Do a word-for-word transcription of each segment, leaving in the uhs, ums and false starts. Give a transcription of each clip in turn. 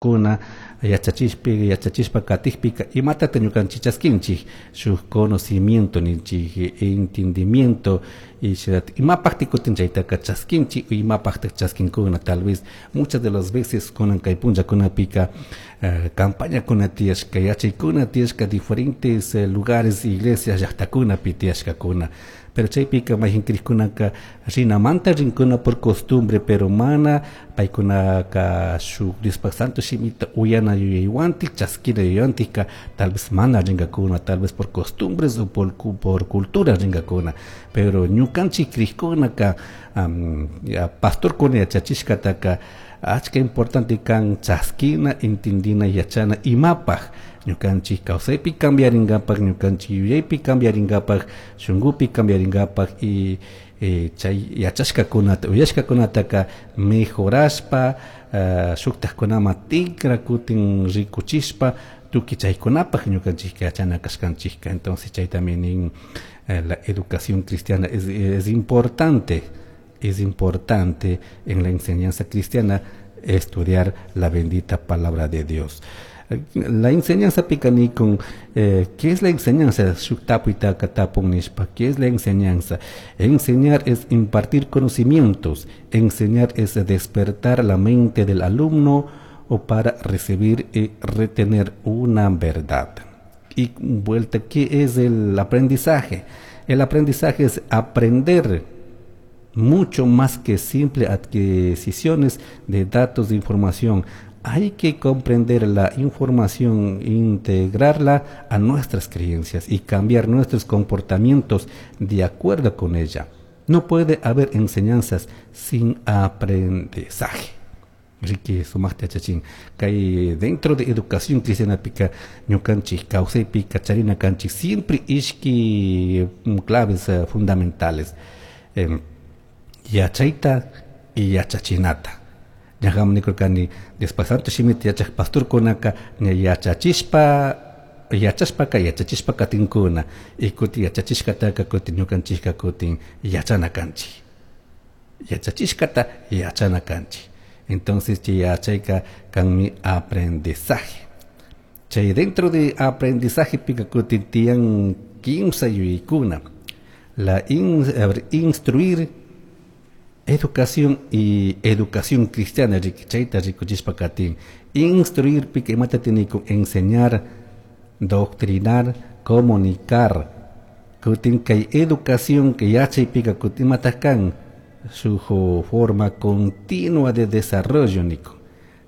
Kuna yachachishpi yachachishpa katikpika imatata ñukanchik chaskinchik shuk conocimiento ninchik, entendimiento y imapaktik kutin chaytaka chaskinchik, imapaktak chaskinkuna. Tal vez muchas de las veces kunan kay punllakunapika uh, campañakuna tiyashka, yachaykuna tiyashka diferentes uh, lugares, iglesias, llaqtakunapi tiyashkakuna, pero chaypika mayjin krikkunaka rinamanta rinkuna por costumbre, pero mana paykunaka shuk Diospak santo shimita uyana yuyaywantik chaskina yuyaywantikka tal vez mana rinkakuna, tal vez por costumbres o por, por cultura rinkakuna. Pero ñukanchik krikkunaka um, pastorkuna yachachishkataka achka importante kan chaskina, entendina, yachana imapaj ñukanchik kawsaypi cambiarinkapak, ñukanchik yuyaypi cambiarinkapak, shunkupi cambiarinkapak y eh, chay yachashkakunata uyashkakunataka mejorashpa uh, shuktakkunaman tikra kutin rikuchishpa tukuy chaykunapaj ñukanchikka yachana kashkanchikka. Entonces chaytami nin, eh, la educación cristiana es, es importante, es importante en la enseñanza cristiana estudiar la bendita palabra de Dios. La enseñanza picanicon, eh, ¿qué es la enseñanza? ¿Qué es la enseñanza? Enseñar es impartir conocimientos, enseñar es despertar la mente del alumno o para recibir y retener una verdad. Y vuelta, ¿qué es el aprendizaje? El aprendizaje es aprender mucho más que simple adquisiciones de datos de información. Hay que comprender la información, integrarla a nuestras creencias y cambiar nuestros comportamientos de acuerdo con ella. No puede haber enseñanzas sin aprendizaje. Riki sumaqta yachachin kay dentro de educación cristianapika ñukanchik kawsaypika charina kanchik siempre ishki claves uh, fundamentales, eh, yachayta y yachachinata. Ñaqam nikurkani Diospak santo shimita yachaq pastorkunaka ña yachachishpa yachashpaka yachachishpa katinkuna y kutin yachachishkataka kutin ñukanchikka kutin yachana kanchik, yachachishkata yachana kanchik. Entonces chay yachayka kanmi aprendizaje. Chay dentro de aprendizaje pika kutin tiyan kimsa yuyaykuna: la in, a ver, instruir, educación y educación cristiana. Chayta rikuchishpa katin. Instruir pika imata tiene con enseñar, doctrinar, comunicar. Kutin kay educación que yachay pika kutin imata kan su forma continua de desarrollo niko.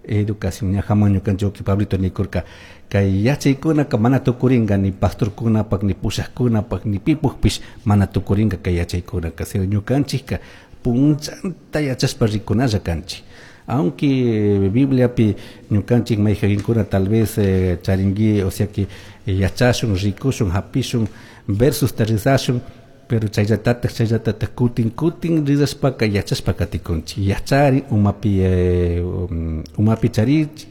Educación ñajaman ñukanchik Pablito nikurka kay yachaykunaka mana tukurinka ni pastorkunapak ni pushaqkunapak ni pipukpish mana tukurinka kay yachaykunaka, sino ñukanchikka punchanta yachashpa rikunalla kanchik. Aunque Bibliapi ñukanchik mayjaginkuna tal vez eh, charingui, o sea que eh, yachashun, rikushun, hapishun versus rizashun, pero chayllatataq chayllatataq kutin kutin rizashpaka yachashpa katikunchik. Yachari umapi eh, um, umapi charichik,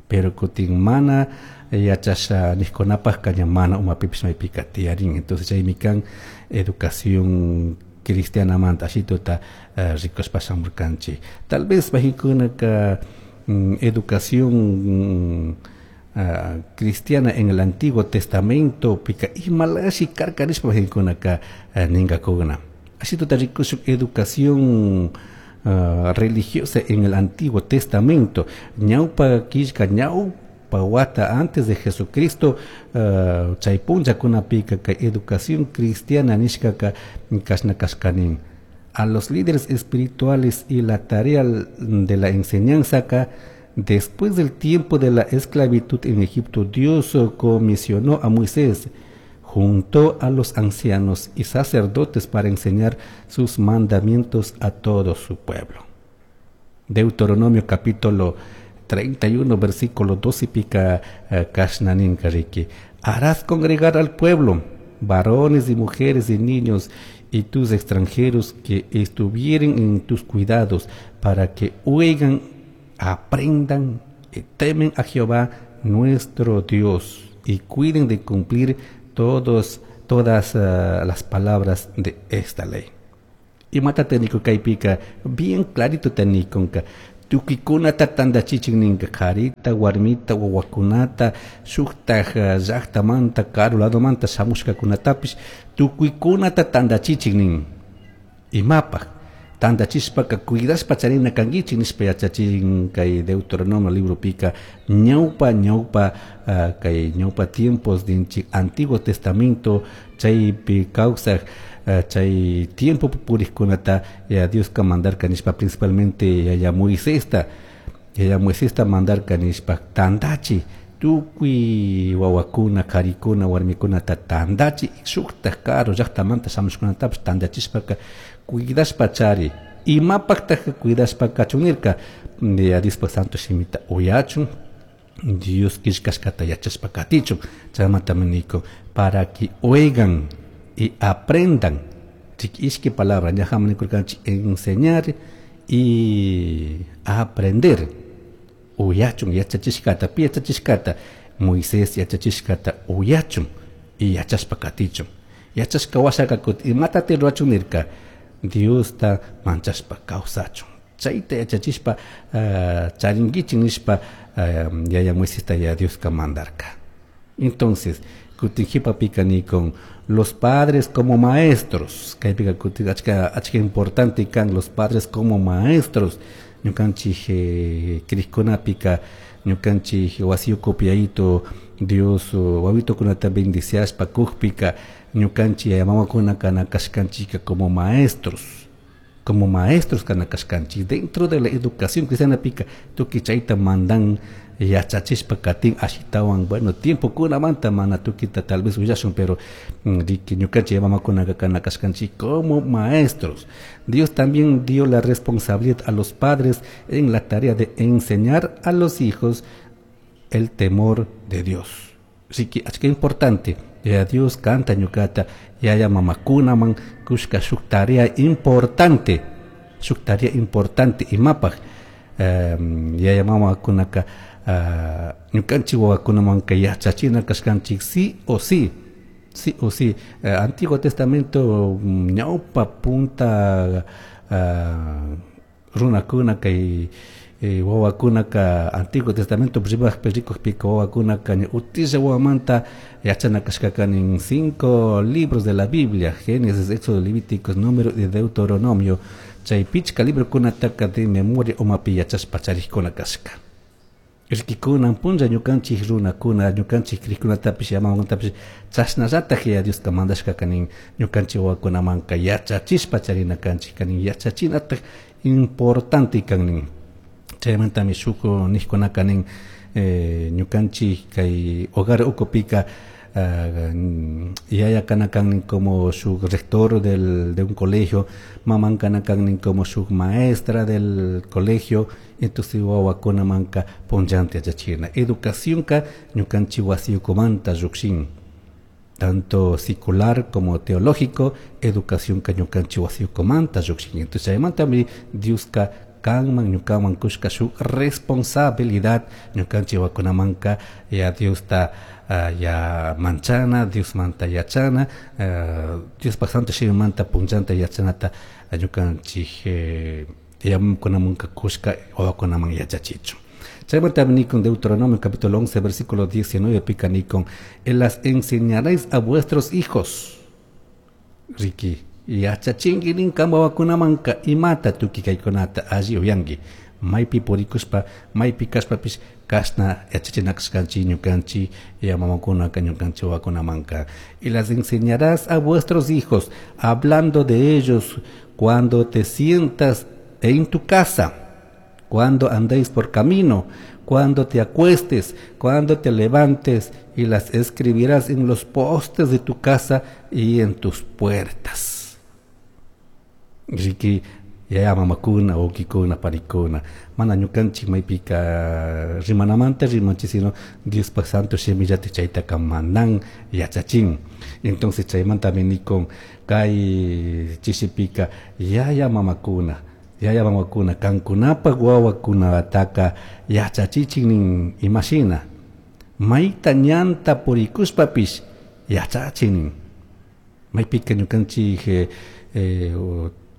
pero kutin mana yachasha niqkunapaqka ña mana umapipish maypika tiyarin. Entonces chaymi kan educación cristianamanta ashituta uh, rikushpa shamurkanchik. Tal vez mayjinkunaka um, educación um, uh, cristiana en el Antiguo Testamento pika imalashi karka nishpa mayjinkunaka uh, ninkakuna. Ashituta rikushun educación uh, religiosa en el Antiguo Testamento. Ñawpa killka, ñawpa wata antes de Jesucristo, uh, chay punllakunapika kay educación cristiana nishkaka kashna kashkanin. A los líderes espirituales y la tarea de la enseñanza ka, después del tiempo de la esclavitud en Egipto, Dios comisionó a Moisés junto a los ancianos y sacerdotes para enseñar sus mandamientos a todo su pueblo. Deuteronomio capítulo treinta y uno versículo doce pika uh, kashna nin riki: harás congregar al pueblo, varones y mujeres y niños y tus extranjeros que estuvieren en tus cuidados, para que oigan, aprendan y temen a Jehová nuestro Dios y cuiden de cumplir todos, todas uh, las palabras de esta ley. Imata nikun kaypika bien clarito ta nikunka Tukuykunata tantachichin ninka karita, warmita, wawakunata, shuktaj llaktamanta, karu ladomanta shamushkakunatapish tukuykunata tantachichin nin. Imapaj tantachishpaka cuidashpa charina kankichik nishpa yachachin kay Deuteronomio libropika ñawpa ñawpa uh, kay ñawpa tiempos ninchik Antiguo Testamento chaypi kawsaj uh, chay tiempo purikkunata ya Dioska mandarka nishpa principalmente yaya Moisesta yaya Moisesta mandarka nishpa tantachi tukuy wawakuna karikuna warmikunata tantachi shuktaj karu llaktamanta shamushkunatapish tantachishpaka cuidashpa chari imapaqtaj cuidashpa kachun nirka ya Diospa santo shimita uyachun Dios killkashkata yachashpa katichun chaymantami niko para que oigan y aprendan ishki palabra ñajama nikurkanchik enseñar y aprender uyachun yachachishkata pi yachachishkata Moisés yachachishkata uyachun y yachashpa katichun yachashka washaka kutin imatati rurachun nirka Diosta manchashpa kawsachun chayta yachachishpa uh, charinkichik nishpa uh, yaya Moisesta ya Dioska mandarka. Entonces kutin qhipapika nikun los padres como maestros kaypika kutin achka achka importante kan los padres como maestros ñukanchik eh, krikkunapika ñukanchik wasi ukupi yayito Dios wawitukunata bendiciashpa kukpika ñukanchik yaya mamakuna kana kashkanchika como maestros como maestros kana kashkanchik dentro de la educación cristiana pika tukuy chayta mandan yachachishpa katin ashitawan bueno tiempo kunamanta mana tukita tal vez willashun pero riki ñukanchik mamakunaka kana kashkanchik como maestros. Dios también dio la responsabilidad a los padres en la tarea de enseñar a los hijos el temor de Dios. Así que achka importante ya Dios kanta ñukata yaya mamakunaman kushka shuk tarea importante shuk tarea importante imapaj um, yaya mamakunaka uh, ñukanchik wawakunamanka yachachina kashkanchik sí o sí sí o sí. uh, Antiguo Testamento ñawpa punta uh, runakuna kay eh, wawakunaka Antiguo Testamento rimajpi rikukpika wawakunaka utilla wawamanta yachana kashkaka nin cinco libros de la Biblia Génesis, Éxodo, Levíticos, Número y Deuteronomio chay pichka librokunataka de memoria umapi yachashpa charikuna kashka. Rikikunan punlla ñukanchik runakuna ñukanchik krikkunatapish yamamantapish chashnallataj ya Dioska mandashkaka nin ñukanchik wawakunamanka yachachishpa charina kanchik kanin yachachinataj importante kan nin. Chaymantami shuk nijkunaka nin eh, ñukanchik kay hogar ukupika uh, yaya kana kan como shuk rector del, de un colegio, maman kana kan como shuk maestra del colegio, entonces wawakunamanka punllanta yachachina. Educación ka ñukanchik wasi ukumanta llukshin, tanto secular como teológico, educación ka ñukanchik wasi ukumanta llukshin. Entonces chaymantami Dioska kanman ñukaman kushka shuk responsabilidad ñukanchik wawakunamanka ya Diosta uh, ya manchana, Diosmanta yachana, uh, Diospaj santo shimimanta punllanta yachanata ñukanchik eh, yamakunamanka kushka wawakunaman yachachichun. Chaymantami nikun Deuteronomio capítulo once versículo diecinueve pika nikun las enseñaréis a vuestros hijos. Riki yachachinki nin kan wawakunamanka imata tukuy kaykunata alli uyanki maypi purikushpa maypi kashpapish kashna yachachina kashkanchik ñukanchik yamamakunaka ñukanchik wawakunamanka. Y las enseñarás a vuestros hijos hablando de ellos cuando te sientas en tu casa, cuando andéis por camino, cuando te acuestes, cuando te levantes, y las escribirás en los postes de tu casa y en tus puertas. Riki yaya mamakuna wawkikuna panikuna mana ñukanchik maypika rimanamanta rimanchik sino Diospaj santo shimillata chaytaka mandan yachachin. Entonces chaymantami nikun kay chishipika yaya mamakuna yaya mamakuna kankunapaj wawakunataka yachachichin nin imashina mayta ñanta purikushpapish yachachin nin maypika ñukanchik eh, eh,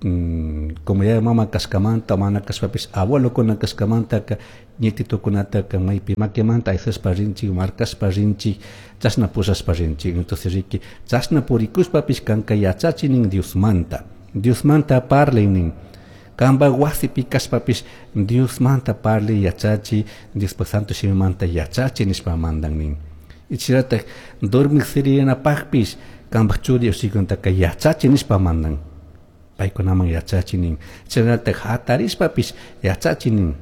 mm, como yaya mama kashkamanta mana kashpapish abuelokuna kashkamantaka nietitokunataka maypi makimanta aysashpa rinchik, markashpa rinchik, chashna pushashpa rinchik. Entonces riki chashna purikushpapish kanka yachachi nin Diosmanta, Diosmanta parlay nin. Kanpak wasipi kashpapish Diosmanta parlay, yachachi, Diospak santo shimimanta yachachi nishpa mandan nin. Ichiratak dormik sirinapakpish kanpak churi ushikuntaka yachachi nishpa mandan. Paykunaman yachachi nin. Chaynatak hatarishpapish yachachi nin.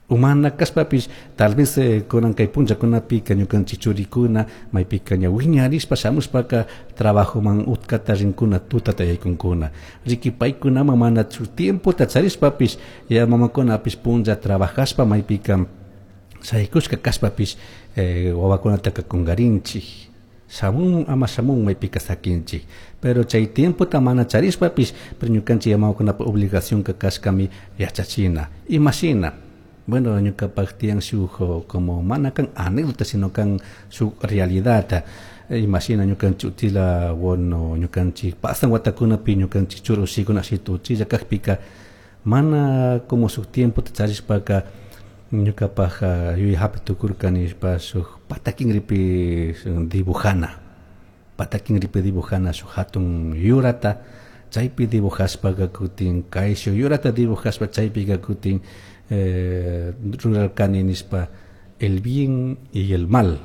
Umana kashpapish tal vez eh, kunan kay punllakunapika ñukanchik churikuna maypika ña wiñarishpa shamushpaka trabajoman utkata rinkuna, tutata yaykunkuna. Riki paykunaman mana tiempota charishpapish ya mamakunapish punlla trabajashpa maypika shaykushka kashpapish eh, wawakunataka kungarinchik. Shamun ama shamun maypika sakinchik. Pero chay tiempota mana charishpapish, pero ñukanchik mamakunapa obligación ka kashkami yachachina. Imashina? Bueno, ñukapak tiyan shuk como mana kan anécdota, sino kan shuk realidad. Imashina ñukanchik utila, bueno, ñukanchik pasan watakunapi ñukanchik churi ushikuna ashitu uchilla kakpika mana como shuk tiempota charishpaka ñukapak yuyay hapi tukurka nishpa shuk patakinripi dibujana, patakinripi dibujana shuk hatun yurata, chaypi dibujashpaka kutin kayshuk yurata dibujashpa chaypika kutin eh, rurarkani nishpa el bien y el mal.